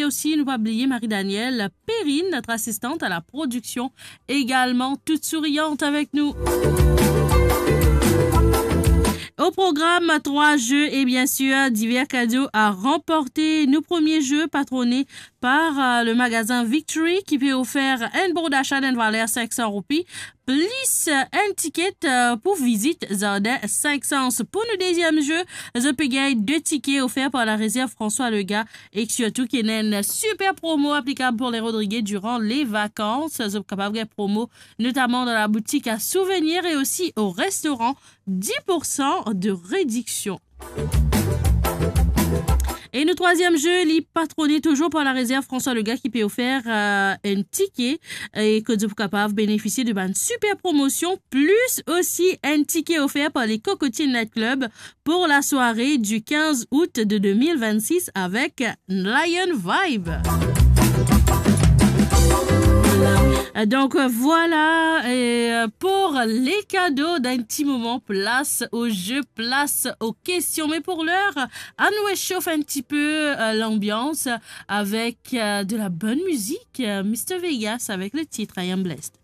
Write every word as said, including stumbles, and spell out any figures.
Osi, nou pa bliye Marie-Danielle Perrine, notre assistante à la production, également toute souriante avec nous. Au programme, trois jeux et bien sûr divers cadeaux à remporter. Nou premie ze patrone par, euh, le magasin Victory ki pe ofer enn bon dasa dan enn valer sink san roupi, plis, euh, enn tiket, euh, pou vizit zardin Sink Sans. Pou nou deziem ze, zot pe gagn de tike ofer par la rezerv François Lega e sirtou ki ena enn super promo aplikab pou le Rodrigué durant les vacances. Zot kapav gagn promo notamment dans la boutique à souvenirs et aussi au restaurant, dix pour cent de réduction. E nou trwaziem ze, li patrone touzour par la rezerv François Lega ki pe ofer, euh, enn tike e kot zot pou kapav benefisie de bann super promosion, plis osi enn tike ofer par les Cocotiers Night Club pour la soirée du quinze août de deux mille vingt-six avec Lion Vibe. Donc, euh, voilà, et, euh, pour les cadeaux d'un petit moment, place au jeu, place aux questions. Mais pour l'heure, on réchauffe un petit peu, euh, l'ambiance avec, euh, de la bonne musique. Euh, Mister Vegas avec le titre I Am Blessed.